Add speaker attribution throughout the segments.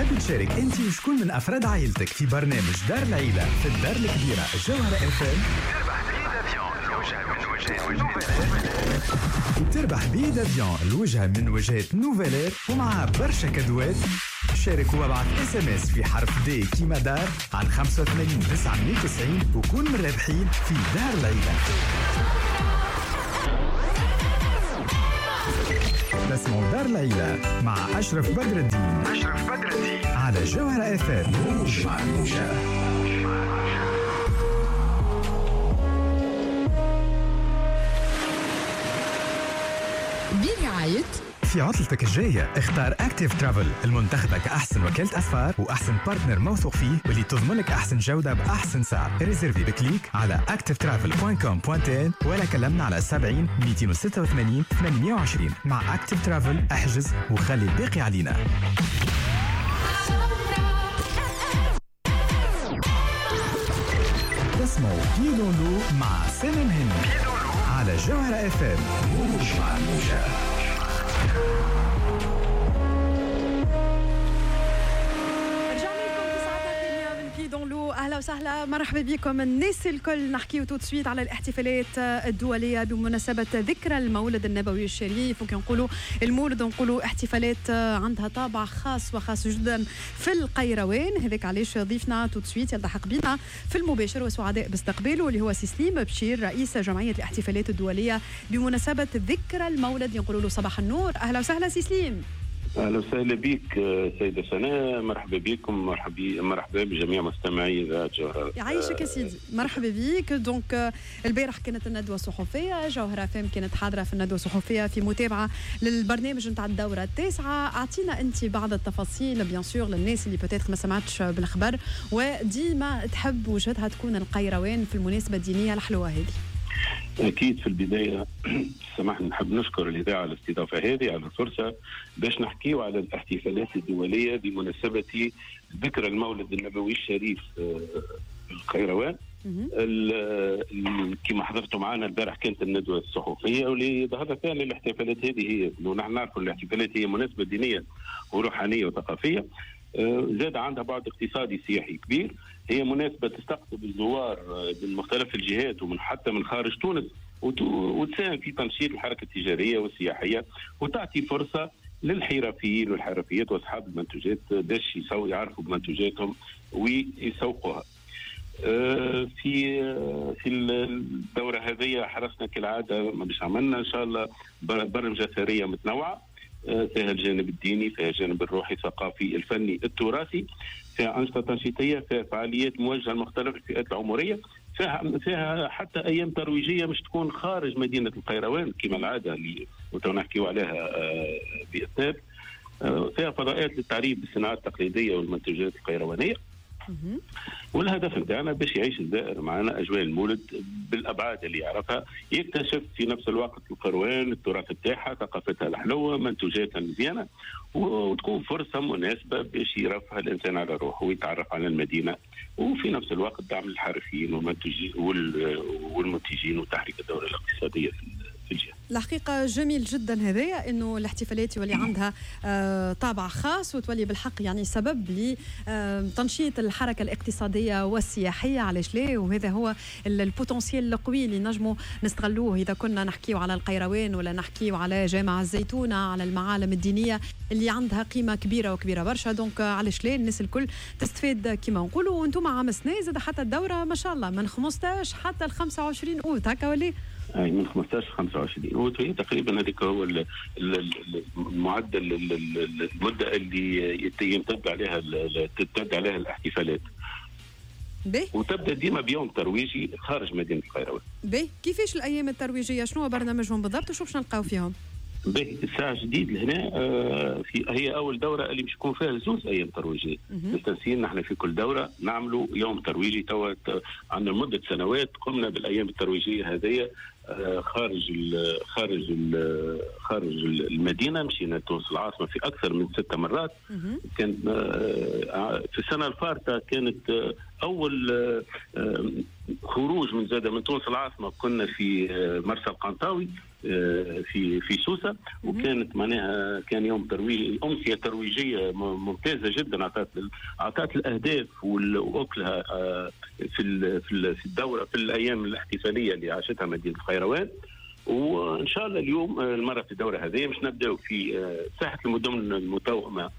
Speaker 1: تحب تشارك انت وشكون من افراد عائلتك في برنامج دار العيلة في الدار الكبيرة جوهره اف ام؟ تربح billet d'avion الوجهة من وجهات Nouvelair ومعها برشا كادوات. شارك وابعث SMS في حرف D كيما دار على 85 990 وكون من الرابحين في دار العيلة. تسمعوا دار العيلة مع أشرف بدر الدين. أشرف بدر الدين على جوهرة اف ام.
Speaker 2: برعاية
Speaker 1: في عطلتك الجاية اختار Active Travel المنتخبة كأحسن وكالة أسفار وأحسن partenaire موثوق فيه واللي تضمن لك أحسن جودة بأحسن سعر. réserver ب clic على activetravel.com.tn ولا كلمنا على 70 286 820. مع Active Travel احجز وخلي الباقي علينا. تسمعوا Pieds dans l'eau مع سلام هند على جوهرة اف ام.
Speaker 3: اهلا وسهلا، مرحبا بكم الناس الكل. نحكيو tout de suite على الاحتفالات الدولية بمناسبة ذكرى المولد النبوي الشريف، وكي نقولوا المولد نقولوا احتفالات عندها طابع خاص وخاص جدا في القيروان. هذاك علاش ضيفنا tout de suite يلتحق بنا في المباشر وسعداء باستقباله اللي هو سي سليم بشير رئيس جمعية الاحتفالات الدولية بمناسبة ذكرى المولد. نقولوا له صباح النور، اهلا وسهلا سي سليم.
Speaker 4: اهلا وسهلا بك سيده سناء، مرحبا بكم، مرحبا بجميع مستمعي اذاعة جوهره.
Speaker 3: يعيشك يا سيدي، مرحبا بك. donc البارح كانت الندوة الصحفية، جوهره فام كانت حاضره في الندوة الصحفية في متابعه للبرنامج نتاع الدورة التاسعة. اعطينا انت بعض التفاصيل bien sûr للناس اللي peut-être ما سمعتش بالخبر وديما تحب وجهتها تكون القيروان في المناسبة الدينية الحلوة هذه.
Speaker 4: أكيد في البداية سمحني نحب نشكر الإذاعة على الاستضافة هذه، على الفرصة باش نحكيو على الاحتفالات الدولية بمناسبة ذكرى المولد النبوي الشريف القيروان. كما حضرتوا معنا البارح كانت الندوة الصحفية واللي ظهرت فيها الاحتفالات هذه هي، ونحن نعرفوا الاحتفالات هي مناسبة دينية وروحانية وثقافية، زاد عندها بعد اقتصادي سياحي كبير. هي مناسبة تستقطب الزوار من مختلف الجهات ومن حتى من خارج تونس، وتساهم في تنشيط الحركة التجارية والسياحية، وتعطي فرصة للحرفيين والحرفيات وأصحاب المنتوجات باش يعرفوا بمنتوجاتهم ويسوقوها. في الدورة هذه حرصنا كالعادة باش عملنا إن شاء الله برمجة ثرية متنوعة، فيها الجانب الديني، فيها الجانب الروحي الثقافي الفني التراثي، فيها أنشطة تنشيطية، فيها فعاليات موجهة لمختلف الفئات العمرية، فيها حتى أيام ترويجية مش تكون خارج مدينة القيروان كما العادة اللي نحكيو عليها بإثناب، فيها فضاءات للتعريف بالصناعات التقليدية والمنتوجات القيروانية. والهدف نتاعنا باش يعيش الزائر معنا اجواء المولد بالابعاد اللي يعرفها، يكتشف في نفس الوقت القروان، التراث بتاعها، ثقافتها الحلوة، منتوجاتها المزيانه، وتكون فرصة مناسبة باش يرفه الانسان على روحه ويتعرف على المدينة، وفي نفس الوقت دعم الحرفيين والمنتجين وتحريك الدورة الاقتصادية في الجهة.
Speaker 3: الحقيقة جميل جدا هذايا انه الاحتفالات يولي عندها طابع خاص وتولي بالحق يعني سبب لتنشيط الحركة الاقتصادية والسياحية، علاش لا؟ وهذا هو ال potentiel القوي اللي نجموا نستغلوه اذا كنا نحكيو على القيروان ولا نحكيو على جامع الزيتونة، على المعالم الدينية اللي عندها قيمة كبيرة وكبيرة برشا. donc علاش لا الناس الكل تستفاد كما نقولوا. وانتم عام سنة زاد حتى الدورة ما شاء الله من 15 حتى ل 25 اوت هكا ولا؟
Speaker 4: اي من 15 ل 25 اوت هي تقريبا هذيك هو المعدل المدة اللي يمتد عليها تمتد عليها الاحتفالات.
Speaker 3: بي.
Speaker 4: وتبدا ديما بيوم ترويجي خارج مدينة القيروان.
Speaker 3: بي كيفاش الايام الترويجيه؟ شنو هو برنامجهم بالضبط وشو باش نلقاو فيهم؟
Speaker 4: باهي الساعة جديد لهنا في هي اول دوره اللي باش يكون فيها زوز ايام ترويجيه. مستانسين نحن في كل دوره نعملوا يوم ترويجي. توا عندنا مده سنوات قمنا بالايام الترويجيه هذه خارج ال خارج ال خارج المدينة، مشينا تونس العاصمة في اكثر من 6 مرات. كان في السنة الفارطه كانت اول خروج من زاده من تونس العاصمة، كنا في مرسى القنطاوي. في في سوسه، وكانت معناها كان يوم ترويج، امسية ترويجيه ممتازة جدا، اعطت الاهداف واكلها في في الدورة في الايام الاحتفالية اللي عاشتها مدينة القيروان. وان شاء الله اليوم المرة في الدورة هذه مش نبداو في ساحة المدن المتوأمه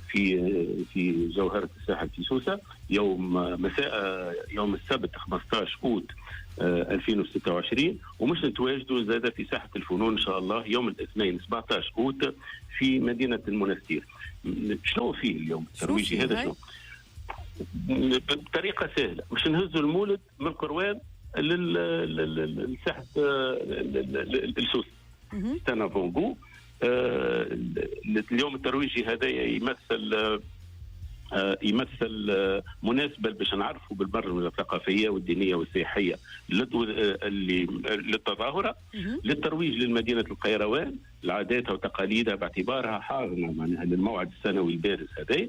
Speaker 4: في جوهره الساحل في سوسة يوم مساء يوم السبت 15 اوت 2026، ومش نتواجدوا زاد في ساحة الفنون ان شاء الله يوم الاثنين 17 اوت في مدينة المنستير. شنو فيه اليوم الترويجي هذا؟ شنو؟ بطريقة سهلة مش نهزوا المولد من القروان لساحه السوس c'est un avant-goût. اليوم الترويجي هذا يمثل مناسبة باش نعرفوا بالبرمجة الثقافية والدينية والسياحيه اللي للتظاهره، للترويج للمدينة القيروان لعاداتها وتقاليدها باعتبارها حاضنة معناها للموعد السنوي البارز هذا.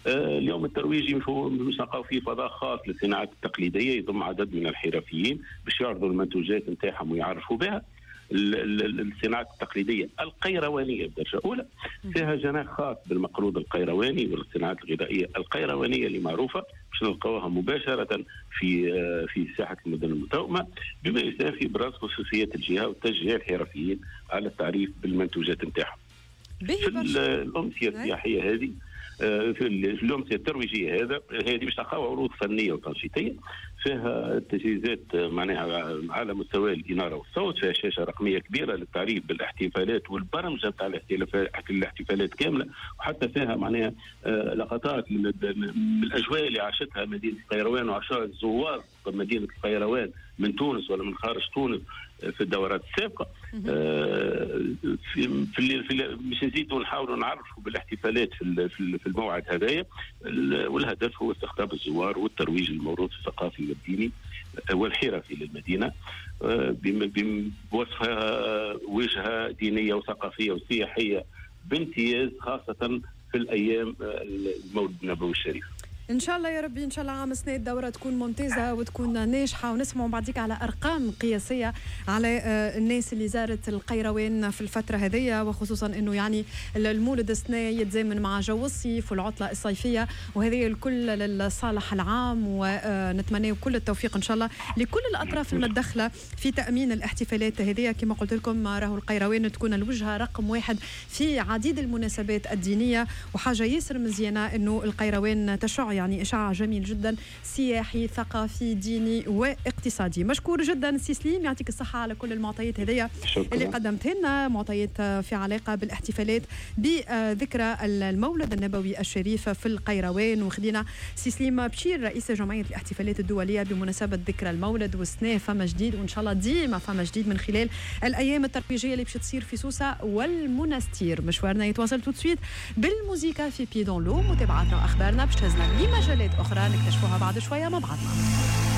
Speaker 4: اليوم الترويجي مش نلقاو فيه فضاء خاص للصناعات التقليدية يضم عدد من الحرفيين باش يعرضوا المنتوجات نتاعهم ويعرفوا بها الصناعات التقليدية القيروانيه بدرجة اولى. فيها جناح خاص بالمقروض القيرواني والصناعات الغذائية القيروانيه اللي معروفة باش نلقاوها مباشرة في ساحة المدن المتوأمه، بما يساهم في ابراز خصوصيات الجهة وتشجيع الحرفيين على التعريف بالمنتوجات نتاعهم. في الامسيه السياحية هذه، في الامسيه الترويجيه هذه باش تلقاو عروض فنية وتنشيطيه، فيها تجهيزات معناها على مستوى الاناره والصوت، فيها شاشة رقمية كبيرة للتعريف بالاحتفالات والبرمجة نتاع الاحتفالات كاملة، وحتى فيها معناها لقطات من الاجواء اللي عاشتها مدينة القيروان وعاشها الزوار مدينة القيروان من تونس ولا من خارج تونس في الدورات السابقة. في في باش نزيدوا نحاولوا نعرفوا بالاحتفالات في الموعد هذايا، والهدف هو استقطاب الزوار والترويج للموروث الثقافي والديني والحرفي للمدينة بوصفها وجهه دينية وثقافية وسياحيه بامتياز، خاصة في الايام المولد النبوي الشريف.
Speaker 3: ان شاء الله يا ربي، ان شاء الله عام سنة الدورة تكون ممتازة وتكون ناجحة، ونسمعوا بعديك على ارقام قياسية على الناس اللي زارت القيروان في الفترة هذه، وخصوصا انه يعني المولد السنة يتزامن مع جو الصيف والعطله الصيفية، وهذه الكل للصالح العام، ونتمنى كل التوفيق ان شاء الله لكل الاطراف المتدخله في تامين الاحتفالات هذه. كما قلت لكم راهو القيروان تكون الوجهة رقم واحد في عديد المناسبات الدينية، وحاجه ياسر مزيانه انه القيروان تشع يعني إشعاع جميل جدا سياحي ثقافي ديني واقتصادي. مشكور جدا سي سليم، يعطيك الصحة على كل المعطيات هذيا اللي قدمتها لنا، معطيات في علاقة بالاحتفالات بذكرى المولد النبوي الشريف في القيروان. وخدينا سي سليم بشير رئيس جمعية الاحتفالات الدولية بمناسبة ذكرى المولد، والسنة فما جديد، وإن شاء الله ديما فما جديد من خلال الأيام الترويجية اللي باش تصير في سوسة والمنستير. مشوارنا يتواصل tout de suite بالموسيقى في Pieds dans l'eau، متابعتنا وأخبارنا باش تهزنا لمجالات أخرى نكتشفوها بعد شوية مع بعضنا.